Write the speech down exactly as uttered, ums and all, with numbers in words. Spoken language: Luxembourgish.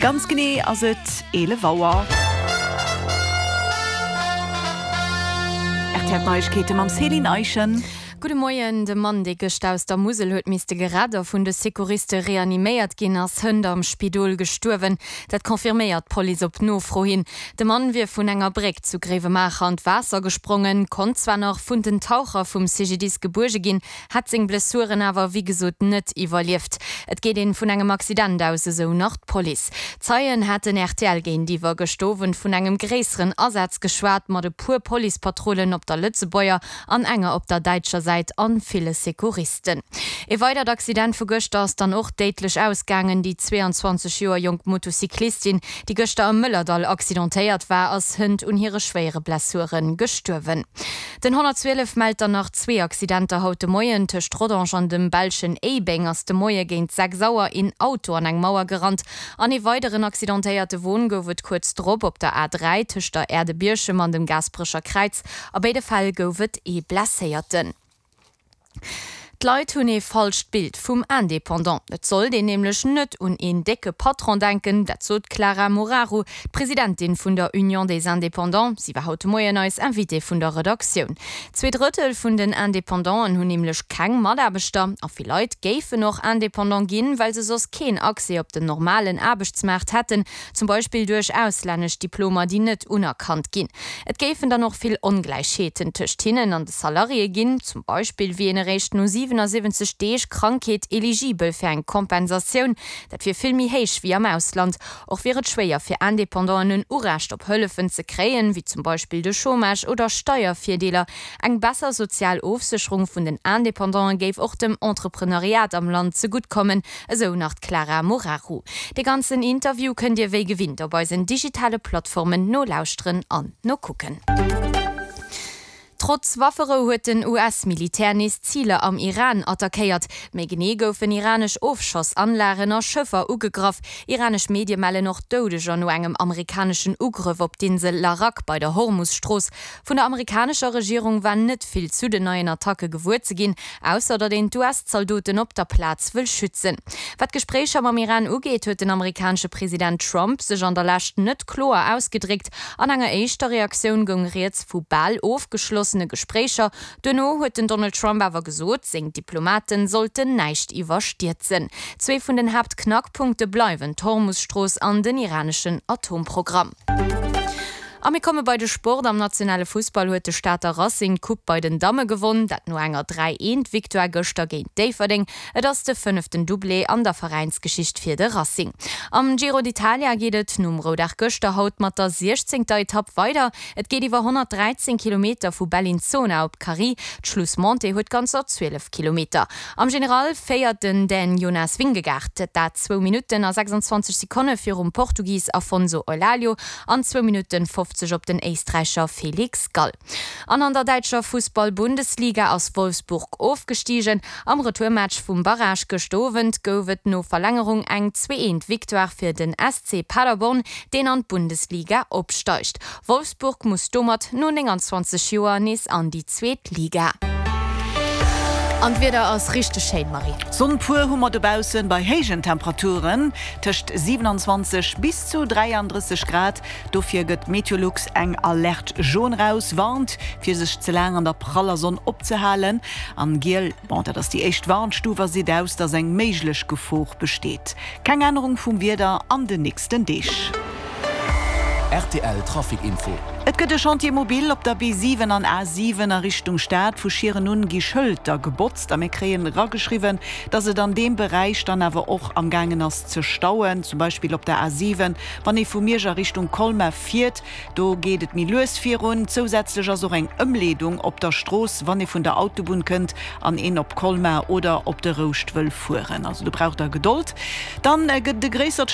Ganz genee ass et eelef Auer. R T L Neiegkeete mam Céline Eischen. Gudde Moien, De Mann, dee gëscht aus der Musel huet misste gerett a vun de Secouriste reaniméiert ginn, ass hënt am Spidol gestuerwen. Dat confirméiert d'Police op Nofro hin. De Mann wier vun enger Bréck zu Gréiwemaacher an d'Waasser gesprongen, konnt zwar nach vun den Taucher vum C G D I S gebuerge ginn, hätt seng Blessuren awer wéi gesot net iwwerlieft. Et geet een vun engem Accident aus, esou nach d'Police. Zeien haten R T L géintiwwer gëscht Owend vun engem gréisseren Asaz geschwat, mat e puer Policepatrullen op der Lëtzebuerger an enger op der däitscher Säit an ville Secouristen. Ee weidert Accident vu gëschter ass dann och déidlech ausgaangen. Déi zwee an zwanzeg Joer jonk Motocyclistin, déi gëschter am Mëllerdall accidentéiert war, ass hënt un hire schwéiere Blessure gestuerwen. Den honnertzwielef mellt dann nach zwee Accidenter haut de Moien. Tëscht Rodange an dem belschen Éibeng ass de Moie géint sechs Auer een Auto an eng Mauer gerannt. An ee weideren accidentéierte Won gouf et kuerz drop op der A dräi tëscht der Aire de Bierchem an dem Gaasperecher Kräiz. A béide Fäll gouf et ee Blesséierten. D'Leit hunn ee falscht Bild vum Indépendant. Et sollt een nämlech net un een décke Patron denken, dat sot d'Clara Moraru, d'Presidentin vun der Union des Indépendants. Si war haut de Moien eis Invitée vun der Redaktioun. Zwee Drëttel vun den Independanten hunn nämlech keng Mataarbechter a vill Leit géifen och Indépendant ginn, well se soss keen Accès op den normalen Aarbechtsmaart hätten, zum Beispill duerch auslännesch Diplomer, déi net unerkannt ginn. Et géifen dann och vill Ongläichheeten tëscht hinnen an de Salariéë ginn, zum Beispill wier een eréischt no siwenasiwwenzeg Deeg Krankheet eligibel fir eng Kompensatioun. Dat wier vill méi héich wéi am Ausland. Och wier et schwéier fir Independanten en Urecht op Hëllefen ze kréien, wéi zum Beispill de Chômage oder Steiervirdeeler. Eng besser sozial Ofsécherung vun den Independanten géif och dem Entrepreneuriat am Land zegutt kommen, esou nach d'Clara Moraru. De ganzen Interview kënnt Dir wéi gewinnt op eisen digitale Plattformen nolauschteren an nokucken. Trotz Wafferou huet den U S-Militär nees Ziler am Iran attackéiert. Méi genee goufen iranesch Ofschossanlagen a Schëffer ugegraff. Iranesch Medie mellen och Doudeger no engem amerikaneschen Ugrëff op d'Insel Larak bei der Hormus-Strooss. Vun der amerikanescher Regierung war net vill zu den neien Attacke gewuer ze ginn, ausser datt een d'U S-Zaldoten op der Plaz wëll schützen. Wat d'Gespréicher mam Iran ugeet, huet den amerikanesche President Trump sech an der Lescht net kloer ausgedréckt. An enger éischter Reaktioun goung rieds vu bal ofgeschlossene Gespréicher. Duerno huet den Donald Trump awer gesot, seng Diplomaten sollten näischt iwwerstierzen. Zwee vun den Haaptknackpunkte bleiwen d'Hormus-Strooss an den iraneschen Atomprogramm. A mir komme bei de Sport. Am nationale Fussball huet de Stater Racing d'Coupe bei den Damme gewonn, dat no enger dräi eent Victoire gëschter géint Déifferdeng. Et ass de fënneften Doublé an der Veräinsgeschicht fir de Racing. Am Giro d'Italia geet et nom Roudag gëschter haut mat der siechzéngter Etapp weider. Et geet iwwer honnertdräizéng Kilometer vu Bellinzona op Cari. D'Schlussmontée huet ganzer zwielef Kilometer. Am General féiert den Dän Jonas Vingegaard, dat zwou Minutten a sechsanzwanzeg Sekonne virum Portugis Afonso Eulalio an zwou Minutten fofzeg op den Éisträicher Felix Gall. An an der däitscher Fussball-Bundesliga ass Wolfsburg ofgestigen. Am Retourmatch vum Barrage gëscht Owend gouf et no Verlängerung eng zwee eent Victoire fir den S C Paderborn, deen an d'Bundesliga opsteigt. Wolfsburg muss domat no nénganzwanzeg Joer nees an déi zweet Liga. An d'Wieder ass richteg schéin, Marie. Sonn pur hu mer dobaussen bei héijen Temperaturen tëscht siewenanzwanzeg bis zu dräiandrësseg Grad. Dofir gëtt Meteolux eng Alerte jaune raus, warnt fir sech ze laang an der praller Sonn opzehalen. An giel, bon dat ass déi éischt Warnstuf a seet aus, dass eng méiglech Gefor besteet. Keng Ännerung vum Wieder an den nächsten Deeg. R T L Trafic Info. Et gëtt e Chantier mobile op der B siwen an A siwen a Richtung Stad. Vu Schieren un gi Schëlter gebotzt a mir kréien erageschriwwen, dass et an deem Beräich dann awer och am gaangen ass ze stauen, zum Beispill op der A siwen, wann ee vu Miersch a Richtung Colmar fiert, do geet et méi lues virun. Zousätzlech ass och eng Ëmleedung op der Strooss, wann ee vun der Autobunn kënnt an een op Colmar oder op de Rouscht wëll fueren. Also do braucht der Gedold. Dann gëtt e gréissert.